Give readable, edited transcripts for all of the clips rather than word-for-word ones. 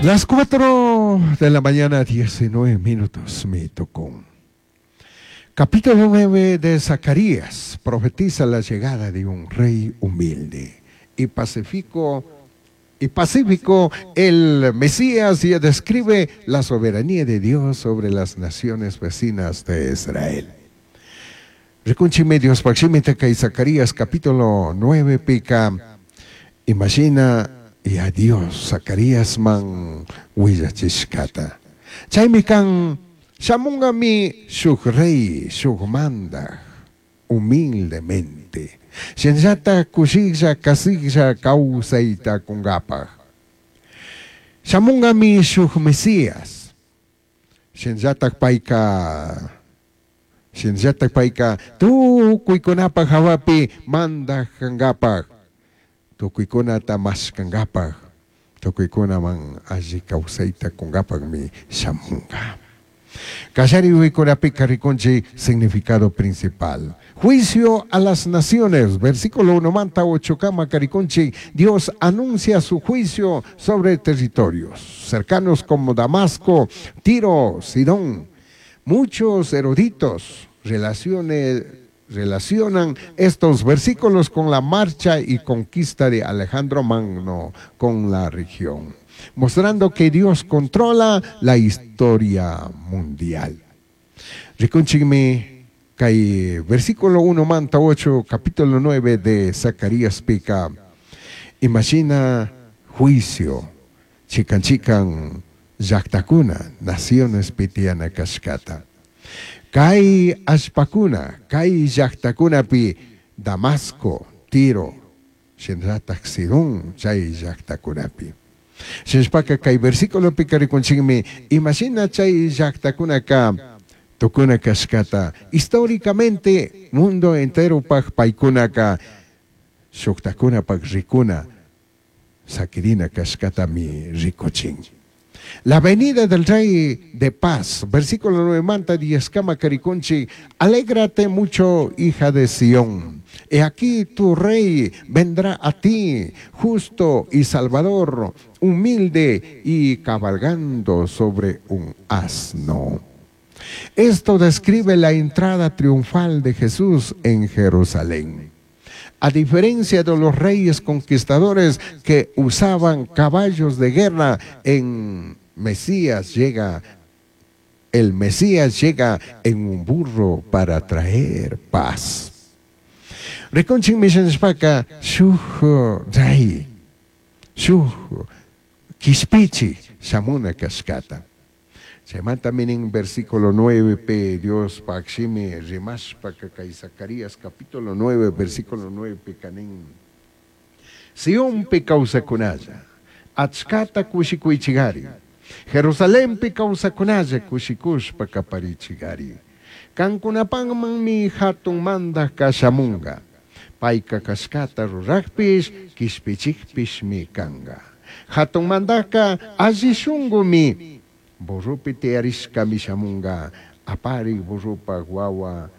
Las 4 de la mañana, 19 minutos, me tocó. Capítulo 9 de Zacarías profetiza la llegada de un rey humilde y pacífico, el Mesías, y describe la soberanía de Dios sobre las naciones vecinas de Israel. Rikunchimi Dios y Zacarías capítulo 9 pica, imagina y a Dios Zacarías man willachishkata. Chaymi kan shamungami shuk rey, shuk mandaj, humildemente. Shinllata kushilla kasilla kawsayta kungapaj. Shamungami shuk Mesías. Shinllata payka tukuykunapaj hawapi mandaj kankapaj. Tukuykunata mashkankapaj, tukuykunaman alli kawsayta kunkapajmi shamunga. Kallari uykunapika rikunchik significado principal. Juicio a las naciones, versículo 1 manta 8 kama karikunchik, Dios anuncia su juicio sobre territorios cercanos como Damasco, Tiro, Sidón. Muchos eruditos relacionan estos versículos con la marcha y conquista de Alejandro Magno con la región, mostrando que Dios controla la historia mundial. Rikunchikmi kay versículo 1 manta 8, capítulo 9 de Zacarías pica, imagina juicio, chikan chikan llaqtakuna, naciones pitiana kashkata. Kay allpakuna, kay llaqtakunapi Damasco, Tiro, shinllataj Sidón, chay llaqtakunapi. Shinshpaka kay versículopi rikunchikmi, imagina chay llaqtakunaka tukuna kashkata. Históricamente, mundo entero paj paykunaka shuktakunapaj rikuna sakirina kashkatami rikuchin. La venida del Rey de Paz, versículo 9 manta 10 kama karikunchi, alégrate mucho, hija de Sión. He aquí tu rey vendrá a ti, justo y salvador, humilde y cabalgando sobre un asno. Esto describe la entrada triunfal de Jesús en Jerusalén. A diferencia de los reyes conquistadores que usaban caballos de guerra, en Mesías llega, el Mesías llega en un burro para traer paz. Rikunchik mishanishpaka shuj rey, shuj kishpichi shamuna kashkata. Chaymanta minin versículo 9 p Dios pakshimi rimashpaka kay Zacarías capítulo 9 versículo 9 p kanin. Sionpi kawsakunalla, achkata kushikuychigari. Jerusalenpi kawsakunalla kushikushpa kaparichigari. Kankunapanmanmi hatun mandaj kashamunga. Payka kashkata rurajpish kishpichikpishmi kanga. Hatun mandajka alli shunqumi burrupi tiyarishkami shamunga, aparik burrupaj wawa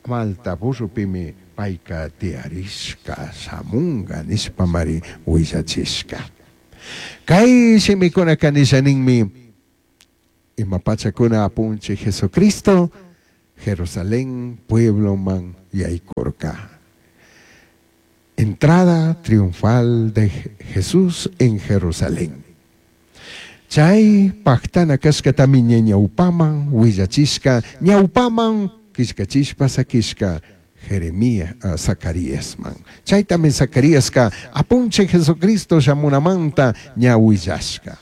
malta burrupimi payka tiyarishka shamunga nishpamari willachishka. Kay shimikunaka nishaninmi imapachakuna apunchik Jesucristo Jerusalén puebloman yaykurka. Entrada triunfal de Jesús en Jerusalén. Chay pactana kashkatami ñawpaman willachishka, ñawpaman kishkachishpa sakishka Jeremías, Zacaríasman. Chaytami Zacaríaska apunchik Jesucristo shamunamanta ña willashka.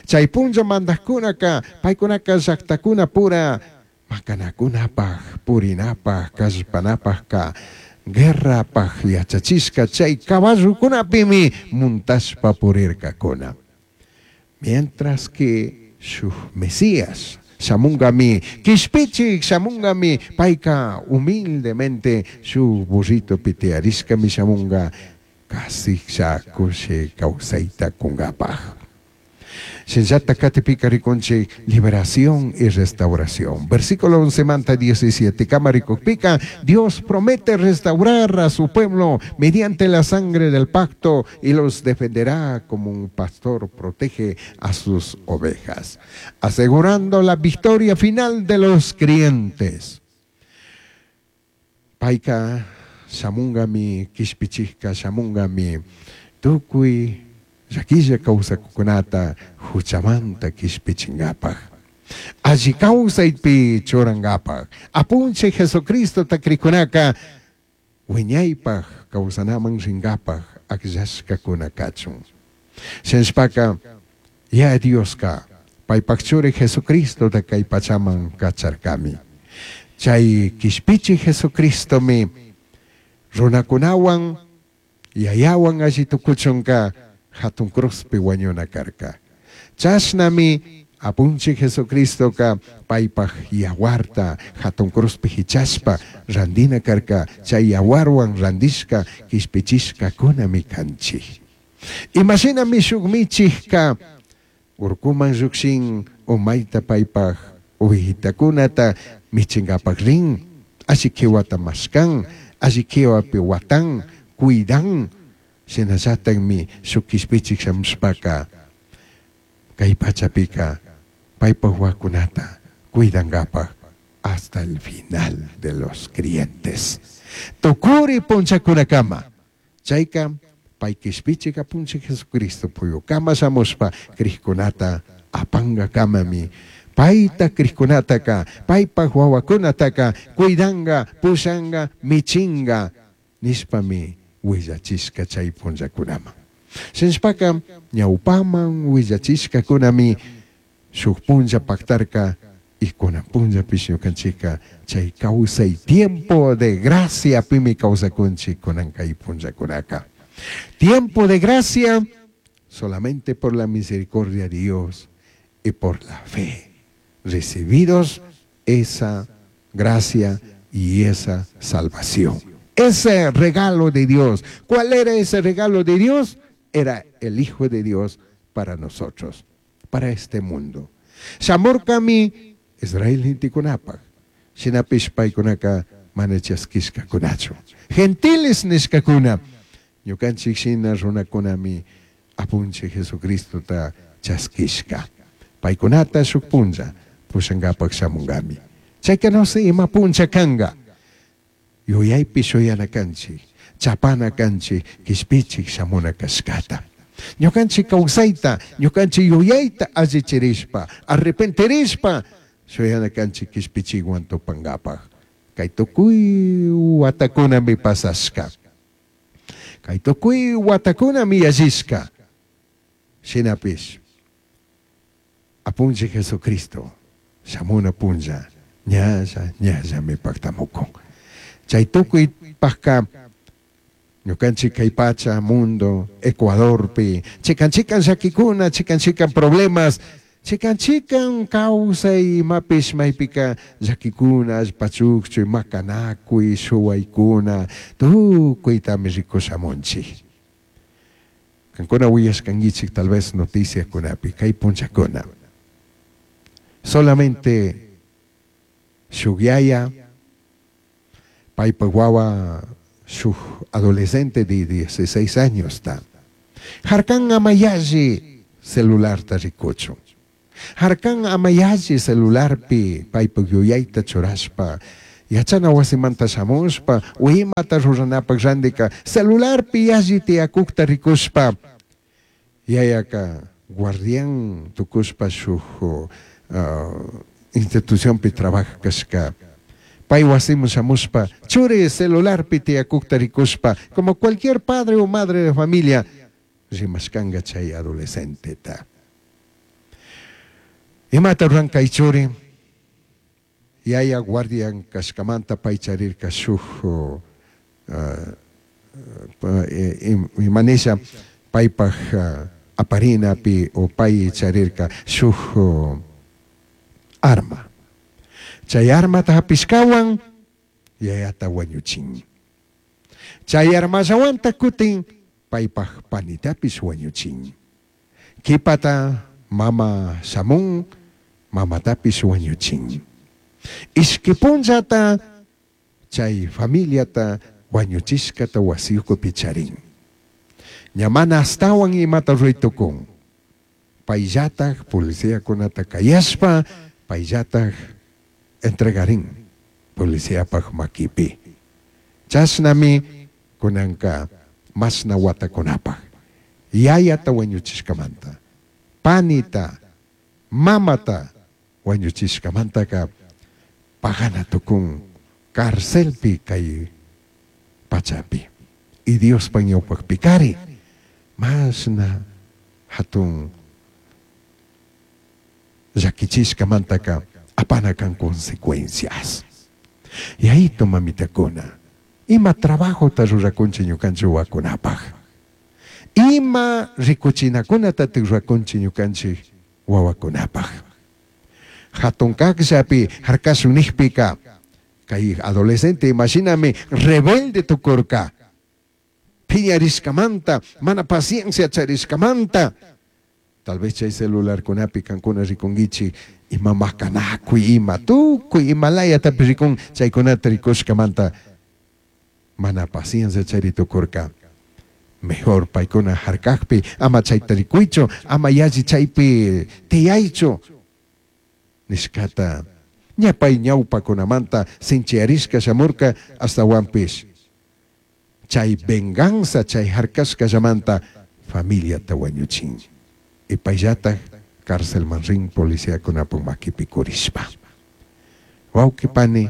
Chay punlla mandajkunaka paykunaka llaqtakuna pura makanakunapaj, purinapaj, kallpanapajka guerrapaj yachachishka chay caballokunapimi muntashpa purirkakuna. Mientras que shuk Mesías shamungami, kishpichik shamungami, payka humildemente shuk burrito pitiarishkami shamunga, kasiklla kushi kawsayta kunkapaj. Shinallata katipika rikunchik liberación y restauración. Versículo 11 manta 17 kama rikukpika, Dios promete restaurar a su pueblo mediante la sangre del pacto y los defenderá como un pastor protege a sus ovejas, asegurando la victoria final de los creyentes. Payka shamungami, kishpichikka shamungami, tukuy llaquilla kawsakukunata huchamanta kishpichinkapaj. Alli kawsaypi churankapaj. Apunchik Jesucristota krikunaka wiñaypaj kawsanaman rinkapaj akllashkakuna kachun. Shinashpaka Yaya Dioska paypak churi Jesucristota kay pachaman kacharkami. Chay kishpichik Jesucristomi runakunawan yayawan alli tukuchunka hatun cruzpi wañuna karka. Chashnami Apunchik Jesucristoka paypak yawarta hatun cruzpi hichashpa randina karka, chay yawarwan randishka kishpichishkakunami kanchik. Imashinami shuk michikka urkuman llukshin umayta paypak ovejitakunata michinkapak rin, alli kiwata mashkan, alli kiwapi watan, cuidan, shinallatakmi shuk kishpichik shamushpaka kay pachapika paypak wawakunata cuidankapak hasta el final de los creyentes. Tukuri punchakunakama. Chayka pay kishpichik apunchik Jesucristo puyukama shamushpa krikkunata apankakamami payta krikkunataka paypak wawakunataka cuidanka, pushanka, michinka nishpami willachishka chay punllakunaman. Shinashpaka ñawpaman willachishkakunami shuk punlla paktarka y kunan punllapish ñukanchikka chay kawsay tiempo de gracia pimi kawsakunchik kunan kay punllakunaka. Tiempo de gracia solamente por la misericordia de Dios y por la fe. Recibidos esa gracia y esa salvación. Ese regalo de Dios. ¿Cuál era ese regalo de Dios? Era el Hijo de Dios para nosotros, para este mundo. Shamurkami Israel gentekunapak, shinapish paykunaka mana chaskishkakunachu. Gentiles nishkakuna, ñukanchik shina runakunami apunchik Jesucristota chaskishka. Paykunata shuk punlla pushankapak shamunkami. Chayka no sé ima punlla kanka. Yuyaypi shuyana kanchik, chapana kanchik, kishpichik shamuna kashkata. Ñukanchik kawsayta, ñukanchik yuyayta allichirishpa, arrepentirishpa, shuyana kanchik kishpichikwan tupankapak. Kay tukuy watakunami pasashka. Kay tukuy watakunami yallishka. Shinapish, apunchik Jesucristo, shamuna punlla, ñalla, ñallami paktamukun. Chay tukuy pakka, ñukanchik kay pacha, mundo, Ecuadorpi, chikan chikan llakikuna, chikan chikan problemas, chikan chikan kawsay imapish maypika llakikuna, allpachukchuy, makanakuy, shuwaykuna, tukuytami rikushamunchik. Kankuna willashkankichik tal vez noticiakunapi, kay punllakuna. Solamente shuk yaya, paypak wawa shuk adolescente de 16 años ta. Harkan amayalli celularta rikuchun. Harkan amayalli celularpi paypak yuyayta churashpa, yachana wasimanta shamushpa, o imata ruranapak randika, celularpi yalli tiyakukta rikushpa, yayaka guardián tukushpa shuk institucionpi trabaja kashka. Pay wasiman shamushpa, churi celularpi tiyakukta rikushpa, como cualquier padre o madre de familia, rimashkanka chay adolescenteta. Imata ruran kay churi? Yaya guardián kashkamanta pay charirka shuk, imanisha paypak aparinapi o pay charirka shuk arma. Chay armata hapishkawan yayata wañuchin. Chay armallawanta kutin paypak panitapish wañuchin. Kipata Mama shamun, mamatapish huañuchin. Ishqui punllata chay familiata huañuchishcata huasi ucupi charin. Ña mana ashtahuan imata rurai tucun. Paillataj policiacunata cayashpa, paillataj entregarin policiapaj maquipi. Chashnami cunanca mashna huatacunapaj yayata huañuchishcamanta, panita, mamata huañuchishcamantaca pagana tucun carcelpi cai pachapi. Y Diospaj ñaupajpicari mashna jatun llaquichishcamantaca apana can consecuencias. Yayito mamitacuna, ima trabajota ruracunchik ñukanchik wawakunapaj? Ima ricuchinacunatataj ruracunchik ñukanchik wawakunapaj? Jatun cajllapi jarcashun nijpica, cai adolescente imashinami rebelde tucurca. Phiñarishcamanta, mana paciencia charishcamanta. Tal vez chay celularcunapi cancuna ricunguichik ima macanacuy, ima tucui ima layatapish ricun, chaicunata ricushcamanta mana paciencia chari tucurca. Mejor paicuna jarcajpi ama chaita ricuichu, ama yalli chaipi tiyaichu nishcata ña pai ñaupacunamanta sinchiyarishca shamurca, ashtahuanpish chay venganza chay jarcashcallamanta familiata huañuchin. Y paillataj carcelman rin policiacunapaj maquipi curishpa. Huauqui pani,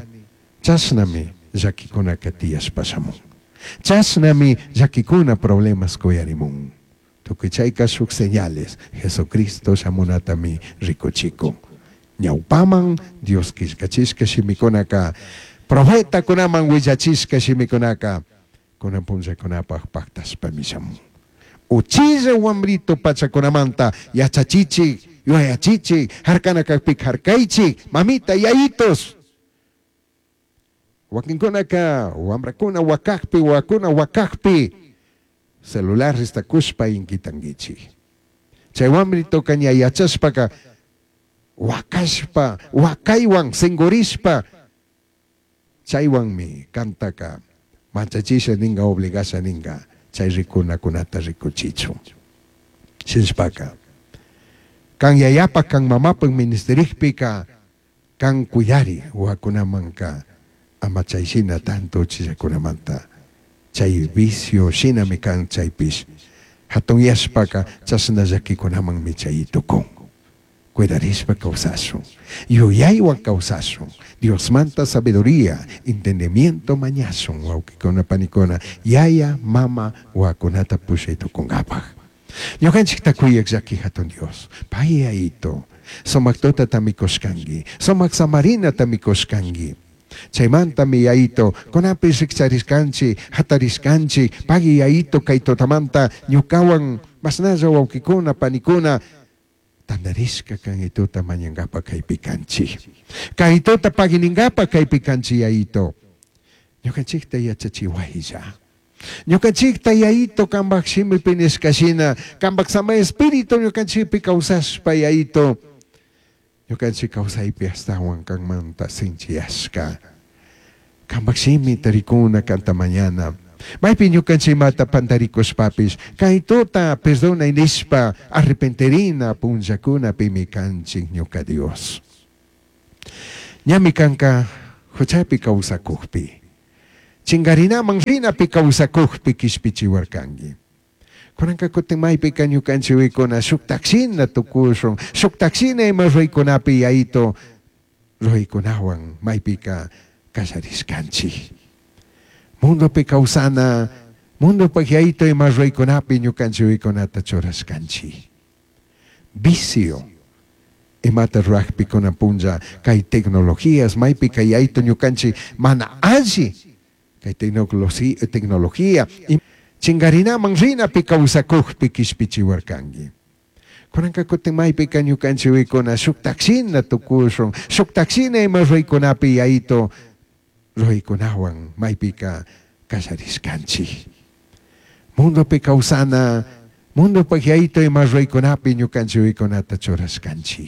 chashnami llaquicunaca tiyashpa shamun. Chashnami llaquicuna problemas cuyarimun. Tucui chaica shuj señales Jesucristo shamunatami ricuchicun. Ñaupaman Dios quillcachishca shimicunaca, profetacunaman huillachishca shimicunaca cunan punllacunapaj pactashpami shamun. Uchilla huambrito pachacunamanta yachachichij, yuyachichij, jarcana cajpica jarcaichij, mamita, yayitos. Huaquincunaca huambracuna huacajpi, huahuacuna huacajpi celular cushpa inquitanguichij. Chay huambritoca ña yachashpaca huacashpa, huacaihuan singurishpa, chaihuanmi cantaca manchachisha ninga, obligasha ninga, chay ricunacunata ricuchichun. Shinashpaca, can yayapaj, can mamapaj ministerijpica, can cuidari huahuacunamanca ama chay shina tanto uchillacunamanta chay vicio shinami can chaypish jatunyashpaca chashna llaquicunamanmi chay tucun. Cuidarishpa causashun, yuyaihuan causashun, Diosmanta sabiduría, entendimiento mañashun huauquicuna panicuna, yaya, mama huahuacunata pushai tucungapaj. Ñucanchijta cuyaj llaqui jatun Dios, pai Yayito, sumac tutatami cushcangui, sumac samarinatami cushcangui. Chaimantami Yayito, cunapish rijcharishcanchij, jatarishcanchij, pagui Yayito cai tutamanta ñucahuan mashnalla huauquicuna, panicuna tandarishca can tuta mañangapa caipi canchij. Cai tuta paguiningapa caipi canchij Yayito. Ñucanchijta yachachihuailla. Ñucanchijta Yayito cambaj shimipi nishca shina, cambaj Samai Espíritu ñucanchijpi causashpa Yayito, ñucanchij causaipi ashtahuan canmanta sinchiyashca. Cambaj shimita ricuna canta mañana. Maipi ñucanchij imata pandaricushpapish, cai tuta perdonai nishpa arrepentirina punllacunapimi canchij ñuca Dios. Ñami canca juchapi causacujpi, chingarinaman rinapi causacujpi quishpichihuarcangui. Cunanca cutin maipica ñucanchijcuna shujtaj shina tucushun, shujtaj shina ima ruraicunapi Yayito ruraicunahuan maipica callarishcanchij. Mundopi causana, mundopaj Yayito ima ruraicunapi ñucanchijcunata churashcanchij. Vicio imata rurajpi cunan punlla cai tecnologías maipica Yayito ñucanchij mana alli cai tecnología chingarinaman rinapi causacujpi quishpichihuarcangui. Cunanca cutin maipica ñucanchijcuna shujtaj shina tucushun, shujtaj shina ima ruraicunapi Yayito ruraicunahuan maipica callarishcanchij. Mundopi causana, Mundopaj Yayitu ima ruraicunapi ñucanchij yuyaicunata churashcanchij?